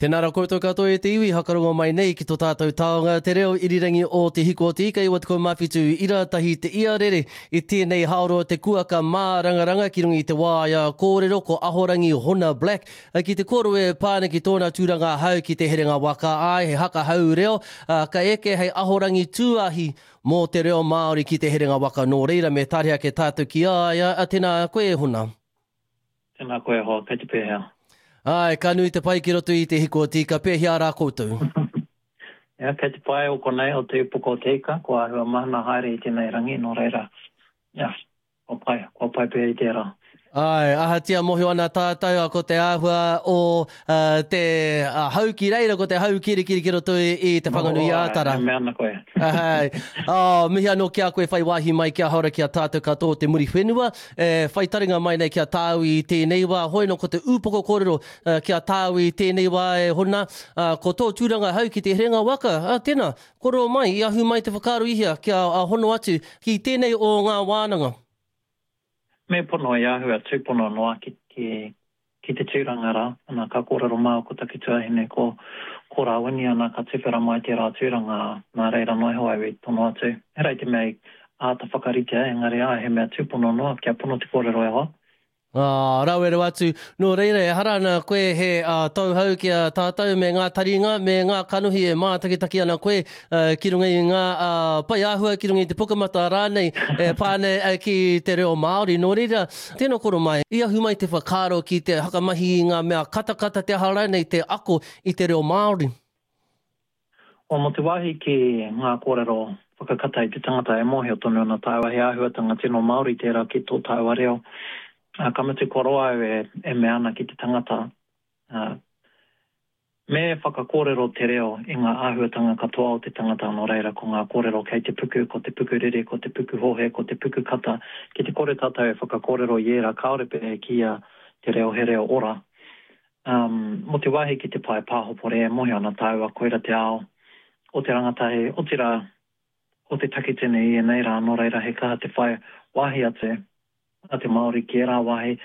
Tēnā rā koutou katoa e te iwi, hakarongo mai nei ki to tātou taonga te reo irirangi o Te Hiko o Te Ika 97 ira tahi te iarere i tēnei haoro te kuaka mārangaranga ki runga i te waea kōrero ko Ahorangi Hona Black ki te kōrero e pā ana ki tōna tūranga hau ki te herenga waka āe he haka hau reo ka eke hei ahorangi tūahi mō te reo Māori ki te herenga waka nō reira me tare ake tātou ki a ia tēnā koe e Hona. Tēnā koe e hoa, kei te pēhea? Āe, ka nui te pai ki roto i te hiko o te ika, pēhea rā koutou? Ia, kei te pai o konei o te upoko o te ika, kua āhua mahana haere i tēnei rangi, nō reira, ia, kua pai, kua pai pea i tērā. Āe, ahatia mōhio ana tātou, ko te āhua o te hau ki reira, ko te hau kirikiri ki roto i Te Whanganui-ā-Tara. Āe, e mea ana koe. Āe, oh, mihi anō ki a koe whai wāhi mai kia hora ki a tātou katoa o te Muriwhenua. E whai taringa mai nei ki a tāu i tēnei wā, hoi nō ko te ūpoko kōrero ki a tāu i tēnei wā e Hona, ko tō tūranga hau ki te herenga waka, ā, tēnā, kōrero mai, i ahu mai te whakaaro i hea kia hono atu ki tēnei o ngā wānanga? Me pono i āhua tūpono noa ki, ki, ki te tūranga rā, ana ka kōrero māua ko taku tuahine ko, ko Rāwini ana ka tuwhera mai tērā tūranga, nā reira noa iho au i tono atu. Ehara i te mea i āta whakaritea, engari āe he mea tūpono noa kia pono te kōrero e hoa. Ā, rawe rawa atu. Nō reira, ehara ana koe he tauhou ki a tātou me ngā taringa, me ngā kanohi e mātakitaki ana koe ki runga i ngā pae āhua, ki runga i te pukamata rānei e pā ana ki te reo Māori. Nō reira, Tēnā koro mai, i ahu mai te whakaaro ki te whakamahi i ngā mea katakata, te aha rānei, te ako i te reo Māori? Well, mō te wāhi ki ngā kōrero whakakata i te tangata e mōhio tonu ana tāua he āhuatanga tino Māori tērā ki tō tāua reo. Ā, ka mutu kua roa au e, e mea ana ki te tangata, ā, Me whakakōrero te reo i ngā āhuatanga katoa o te tangata nō reira ko ngā kōrero kei te puku, ko te puku rere, ko te puku hohe, ko te puku kata, ki te kore tātou e whakakōrero i ērā kāore pea e kīia te reo he reo ora. Um, mō te wāhi ki te pae pāhopori e mōhio ana tāua koira te ao o te rangatahi, otirā o te takitini i ēnei rā nō reira he kaha te whai wāhi atu. a te Māori ki ērā wāhi.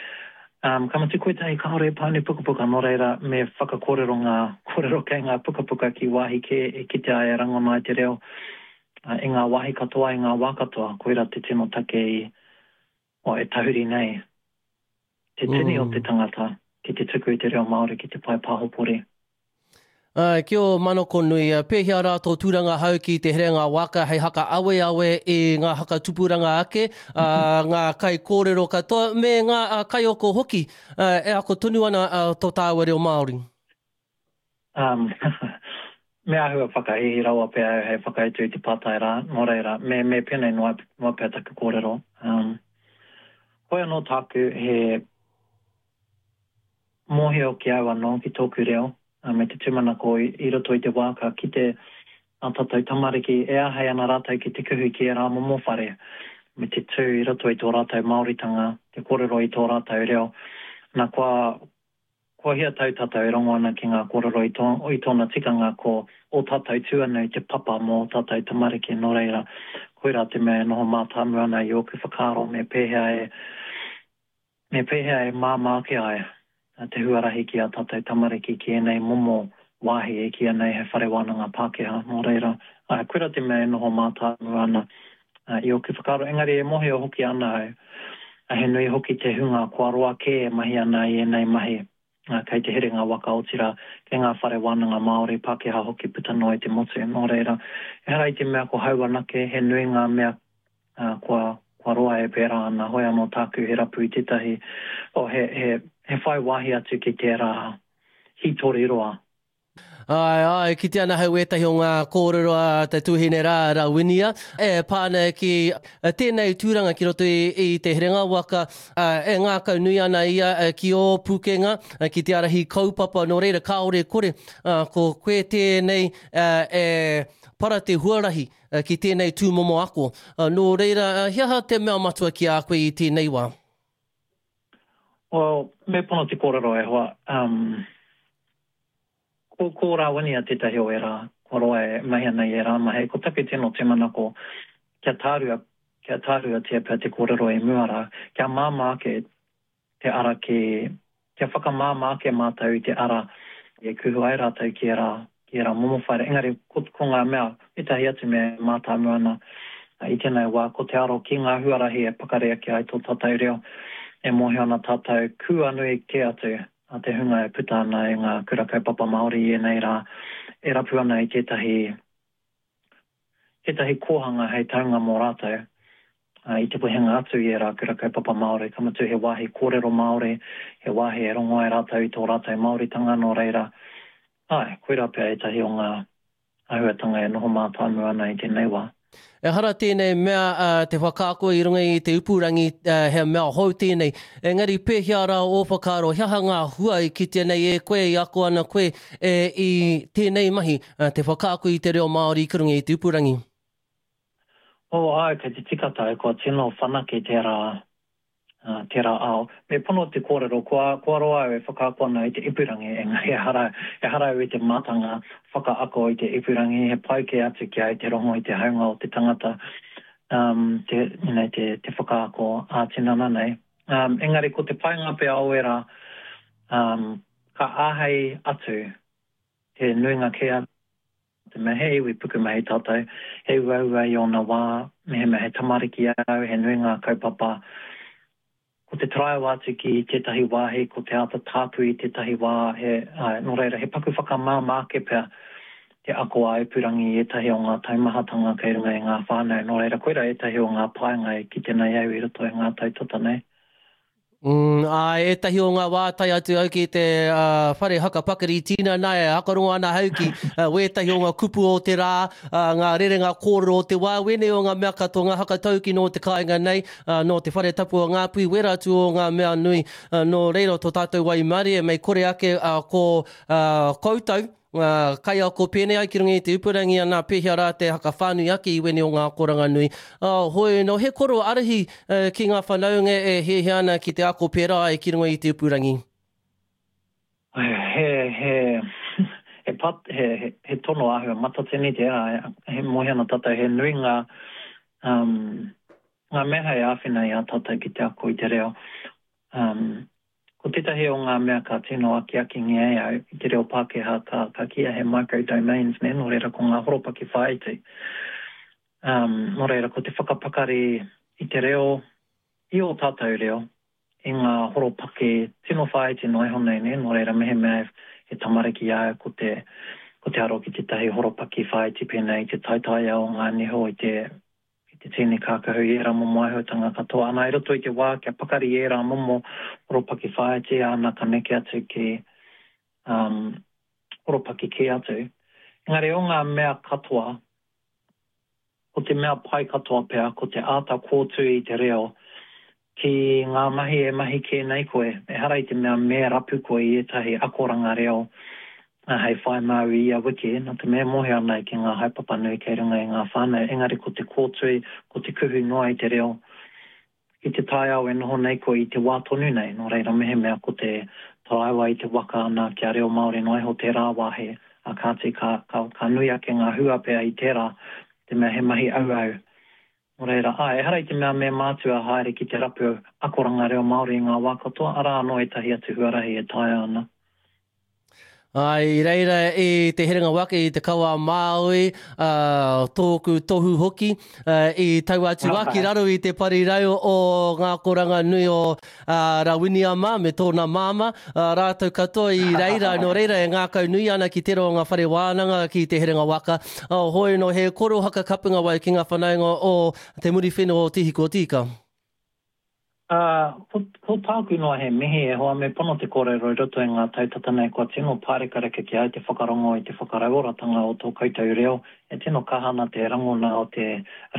Um, ka mutu koetahi kāore e pānui pukapuka, nō reira me whakakōrero ngā kōrero kei ngā pukapuka ki wāhi kē e kitea ai e rangona ai te reo uh, i ngā wāhi katoa, i ngā wā katoa. Koirā te tino take i, oh, e tahuri nei te tini o te tangata ki te tuku i te reo Māori ki te pae pāhopori. Āe, ki ō manako nui, pēhea rā tō tūranga hau ki te herenga waka hei haka aweawe i ngā haka tupuranga ake, ā, ngā kaikōrero katoa, me ngā kaiako hoki e ako tonu ana tō tāua reo Māori? Um, me āhua whakahīhī rawa pea au hei whakautu i te pātai rā, nō reira, me, me pēnei noa, noa pea taku kōrero. Um, hoi anō tāku he mōhio ki au anō, ki tōku reo, me te tūmanako i roto i te wā ka kite ā tātou tamariki e āhei ana rātou ki te kuhu ki ērā momo whare, me te tū i roto i tō rātou Māoritanga, te kōrero i tō rātou reo. Nā, kua, kua hia tau tātou e rongo ana ki ngā kōrero i tō, i tōna tikanga ko ō tātou tuanui te papa mō ō tātou tamariki, nō reira, koirā te mea e noho mātāmua ana i ōku whakaaro me pēhea e, Me pēhea e māmā ake ai te huarahi ki ā tātou tamariki ki ēnei momo wāhi e kīia nei he whare wānanga Pākehā? Nō reira, āe, koirā te mea e noho mātāmua ana i ōku whakaaro. Engari e mōhio hoki ana au, he nui hoki te hunga kua roa kē e mahi ana i ēnei mahi, kei te herenga waka, otirā, kei ngā whare wānanga Māori, Pākehā hoki puta noa i te motu. Nō reira, ehara i te mea ko hau anake, he nui ngā mea ā, kua, kua roa e pērā ana, hoi anō tāku he rapu i tētahi, oh, he, he, he whai wāhi atu ki tērā hītori roa. Āe, āe, kite ana hau ētahi o ngā kōrero a te tuahine rā, Rawinia, e pā ana ki tēnei tūranga ki roto i, i te herenga waka, ā, e ngākau nui ana ia ki ō pukenga, ki te ārahi kaupapa, nō reira kāore kore, ā, ko koe tēnei e para te huarahi ki tēnei tūmomo ako. Nō reira, he aha te mea matua ki a koe i tēnei wā? Well, me pono te kōrero e hoa. Um, ko, ko Rāwinia tētahi o ērā, kua roa e mahi ana i ērā mahi. Ko taku tino tūmanako, kia tārua, kia tāruatia pea te kōrero i mua rā, kia māmā ake te ara ki, kia whakamāmā ake mātou i te ara. e kuhu ai rātou ki ērā, ki ērā momo whare. Engari, ko, ko ngā mea, ētahi atu mea e mātāmua ana i tēnei wā, ko te aro ki ngā huarahi e pakari ake ai tō tātou reo, e mōhio ana tātou kua nui kē atu a te hunga e puta ana i ngā kura kaupapa Māori i ēnei rā, e rapu ana i tētahi, tētahi kōhanga hei taunga mō rātou i te wehenga atu i ērā kura kaupapa Māori, ka mutu he wāhi kōrero Māori, he wāhi e rongo ai rātou i tō rātou Māoritanga, nō reira, āe, koirā pea ētahi o ngā āhuatanga e noho mātāmua ana i tēnei wā. Ehara tēnei mea te whakaako i runga i te upurangi, he mea hou tēnei. Engari pēhea rā ō whakaaro, he aha ngā hua i kitea nei e koe, i ako ana koe i tēnei mahi, te whakaako i te reo Māori ki runga i te upurangi? Oh, āe, kei te tika tāu, kua tino whanake tērā tērā ao. Me pono te kōrero, kua, kua roa au e whakaako ana i te ipurangi, engari ehara, ehara au i te mātanga whakaako i te ipurangi, he pai kē atu ki a au te rongo i te haunga o te tangata, um, te, you know, te, te whakaako ā-tinana nei. Um, engari ko te painga pea o ērā, um, ka āhei atu te nuinga kē atu, te mea he iwi pukumahi tātou, he uaua i ōna wā, mehemea he tamariki au, he nui ngā kaupapa, ko te taraiwa atu ki tētahi wāhi, ko te āta tāpui i tētahi wā, he, āe, nō reira, he paku whakamāmā ake pea te ako ā-ipurangi i ētahi o ngā taumahatanga kei runga i ngā whānau, nō reira, koirā ētahi o ngā painga e kite nei au i roto i ngā tau tata nei. Mm, āe, ētahi o ngā wā tae atu au ki te uh, whare haka pakari tinana e hakarongo ana hau ki uh, wētahi o ngā kupu o te rā, uh, ngā rerenga kōrero o te wā, wēnei o ngā mea katoa, ngā hakatauki nō te kāinga nei, uh, nō te whare tapu o Ngāpuhi, wērā atu o ngā mea nui, uh, nō reira tō tātou waimarie, mei kore ake uh, ko uh, koutou, Ngā kaiako pēnei ai ki runga i te upurangi ana pēhea rā te haka whānui ake i wēnei o ngā akoranga nui. Hoi nō he koro arahi ki ngā whanaunga e hiahia ana ki te ako pērā ai ki runga i te upurangi. He, he, he pat, he, he, he tono āhua matatini tērā, he mōhio ana tātou he nui ngā, um, ngā mea hei āwhina i a tātou ki te ako i te reo. Um, Ko tētahi o ngā mea ka tino akiakingia e au i te reo Pākehā ka, ka kīia he micro domains, nē, nō reira ko ngā horopaki whāiti. Um, nō reira ko te whakapakari i te reo, i ō tātou reo, i ngā horopaki tino whāiti noa iho nei, nē, nō reira mehemea he tamariki a au ko te, ko te aro ki tētahi horopaki whāiti pēnei i te taitaia o ngā niho i te, i te tīni kākahu i ērā momo āhuatanga katoa. Ana, i roto i te wā kia pakari ērā momo horopaki whāiti, ana ka neke atu ki um, horopaki kē atu. Engari o ngā mea katoa, ko te mea pai katoa pea, ko te āta kōtui i te reo ki ngā mahi e mahi kē nei koe. Ehara i te mea me rapu koe i ētahi akoranga reo hei whai māu i ia wiki, nā te mea e mōhio ana ki ngā haepapa nui kei runga i ngā whānau, engari ko te kōtui, ko te kuhu noa i te reo ki te taiao e noho nei koe i te wā tonu nei, nō reira mehemea ko te taraiwa i te waka ana kia reo Māori noa iho tērā wāhi, ā kāti ka, ka, ka nui ake ngā hua pea i tērā, te mea he mahi auau. Nō reira, āe, ehara i te mea me mātua haere ki te rapu akoranga reo Māori i ngā wā katoa, arā anō ētahi atu huarahi e taea ana. Āe, i reira i Te Herenga Waka, i Te Kawa a Māui, ā, tōku tohu hoki, ā, i tau atu a ki raro i te parirau o ngā akoranga nui o, ā, Rawinia mā me tōna māmā, ā, rātou katoa i reira, nō reira e ngākau nui ana ki tērā o ngā whare wānanga ki Te Herenga Waka. Ā, hoi nō he koro haka kapunga wai ki ngā whanaunga o Te Muriwhenua o Te Hiko o Te Ika. Ā, ko, ko tāku noa he mihi, e hoa, me pono te kōrero i roto i ngā tau tata nei kua tino pārekareka ki a au te whakarongo i te whakarauoratanga o tō koutou reo. E tino kaha ana te rangona o te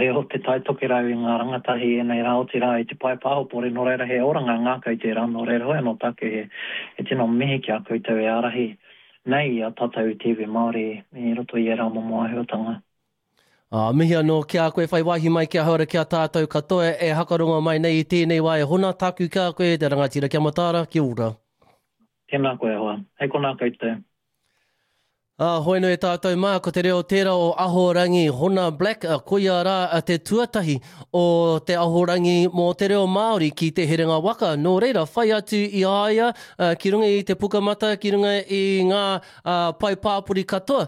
reo o Te Tai Tokerau i ngā rangatahi i ēnei rā, otirā i te pae pāhopori, nō reira he oranga ngākau tērā, nō reira hoi anō tāku he, he tino mihi ki a koutou e ārahi nei i a tātou i te iwi Māori i roto i ērā momo āhuatanga. Ā, mihi anō ki a koe whai wāhi mai ki ahau ara ki a tātou katoa e hakarongo mai nei i tēnei wā e hona tāku ki a koe te rangatira kia mataara, kia ora. Tēnā koe e hoa. Hei konā koutou. Ā, hoi nui tātou mā, ko te reo tērā o Ahorangi Hona Black, koia rā te tuatahi o te Ahorangi mō te reo Māori ki Te Herenga Waka. Nō reira, whai atu i a ia ki runga i te Pukamata, ki runga i ngā pae pāpori katoa,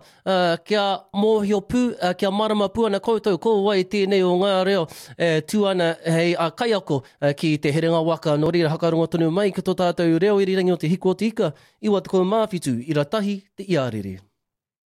kia mōhio pū, kia mārama pū ana koutou ko wai tēnei o ngā reo e tū ana hei kaiako ki Te Herenga Waka. Nō reira, hakarongo tonu mai ki tō tātou reo irirangi o Te Hiku o Te Ika, 97 ira tahi te iarere.